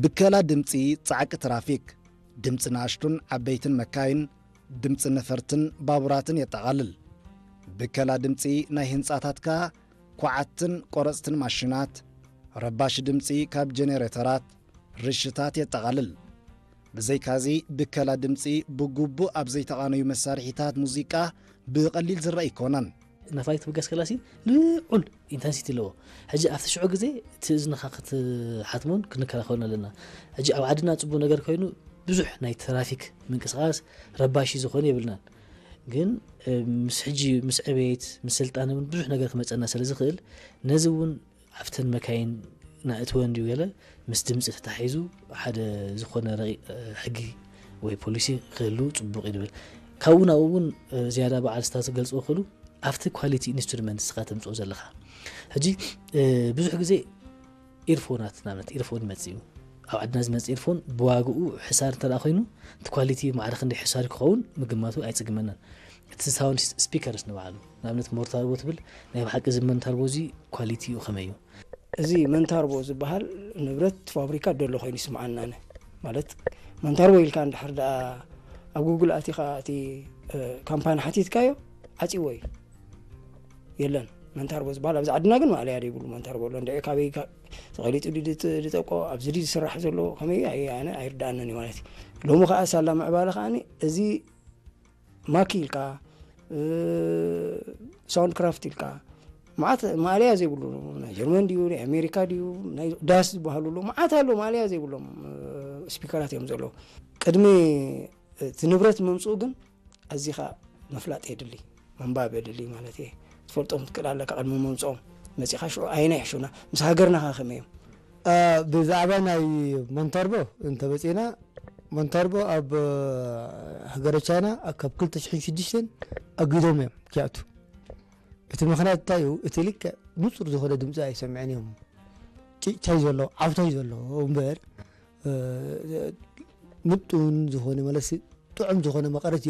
ብከላ ድምፂ ፃዕቂ ትራፊክ፣ ድምፂ ንኣሽቱን ዓበይትን መካይን፣ ድምፂ ነፈርትን ባቡራትን የጠቓልል። ብከላ ድምፂ ናይ ህንፃታትካ ኳዓትን ቆረፅትን ማሽናት፣ ረባሺ ድምፂ ካብ ጀኔሬተራት፣ ርሽታት የጠቓልል። ብዘይካዚ ብከላ ድምፂ ብግቡእ ኣብ ዘይተቓነዩ መሳርሒታት ሙዚቃ ብቐሊል ዝረአ ኣይኮነን። ነፋሪት ብገስ ከላሲ ልዑል ኢንተንሲቲ ኣለዎ። ሕጂ ኣብቲ ሽዑ ግዜ እቲ እዝንኻ ክትሓትሞን ክንከላኸሉን ኣለና። ሕጂ ኣብ ዓድና ጽቡቕ ነገር ኮይኑ ብዙሕ ናይ ትራፊክ ምንቅስቓስ ረባሺ ዝኾነ የብልናን። ግን ምስ ሕጂ ምስ ዕቤት ምስ ስልጣነ እውን ብዙሕ ነገር ክመጸና ስለ ዝኽእል ነዚ እውን ኣብተን መካይን ናእትወን ድዩ ገለ ምስ ድምፂ ተታሒዙ ሓደ ዝኾነ ረቂ- ሕጊ ወይ ፖሊሲ ክህሉ ጽቡቕ እዩ ድብል። ካብኡ ናብኡ እውን ዝያዳ በዓል ስታ ዝገልፅዎ ክእሉ ኣብቲ ኳሊቲ ኢንስትሩመንት ስኻ ተምፅኦ ዘለኻ። ሕጂ ብዙሕ ግዜ ኢርፎናት ንኣብነት ኢርፎን ይመፅእ እዩ። ኣብ ዓድና ዝመፅእ ኢርፎን ብዋግኡ ሕሳር እንተ ኮይኑ እቲ ኳሊቲ ማዕረ ክንደይ ሕሳር ክኸውን ምግማቱ ኣይፅግመናን። እቲ ሳውንድ ስፒከርስ ንባዕሉ ንኣብነት ሞርታርቦ ትብል ናይ ብሓቂ እዚ መንታርቦ እዚ ኳሊቲኡ ከመይ እዩ? እዚ መንታርቦ ዝበሃል ንብረት ፋብሪካ ደሎ ኮይኑ ይስምዓና ኣነ። ማለት መንታርቦ ኢልካ እንድሕር ደኣ ኣብ ጉግል ኣቲኻ እቲ ካምፓኒ ሓቲትካዮ ዓፂዎ እዩ። የለን መንታርቦ ዝበሃል ኣብዚ ዓድና ግን ማእለያ ደይብሉ መንታርቦ ኣሎ እንድዒ ካበይ ተቐሊጡ ድጠቆ ኣብዚ ዝስራሕ ዘሎ ከመይ ኣነ ኣይርዳኣንን እዩ ማለት እዩ። ሎሚ ከዓ ሳላ ምዕባለ ከዓ እዚ ማኪ ኢልካ ሳውንድ ክራፍት ኢልካ መዓት ማእለያ ዘይብሉ ናይ ጀርመን ድዩ ናይ ኣሜሪካ ድዩ ናይ ዳስ ዝበሃሉ ኣለዉ መዓት ኣሎ ማእለያ ዘይብሎም ስፒከራት እዮም ዘለዉ። ቅድሚ እቲ ንብረት ምምፅኡ ግን ኣዚኻ ምፍላጥ የድሊ ምንባብ የድሊ ማለት እየ። ትፈልጦም ትክእል ኣለካ ቅድሚ ምምፅኦም መፂኻ ሽዑ ኣይና ይሕሹና ምስ ሃገርና ከ ከመይ እዮም? ብዛዕባ ናይ ሞንታርቦ እንተመፂና ሞንታርቦ ኣብ ሃገረ ቻይና ካብ ክልተ ሽሕን ሽዱሽተን ኣጊዶም እዮም ክኣቱ። እቲ ምኽንያት እንታይ እዩ? እቲ ልክዕ ንፁር ዝኾነ ድምፂ ኣይሰምዕን እዮም። ጭጭታይ ዘሎ ዓውታይ ዘሎ እምበር ምጡን ዝኾነ መለሲ ጥዑም ዝኾነ መቐረት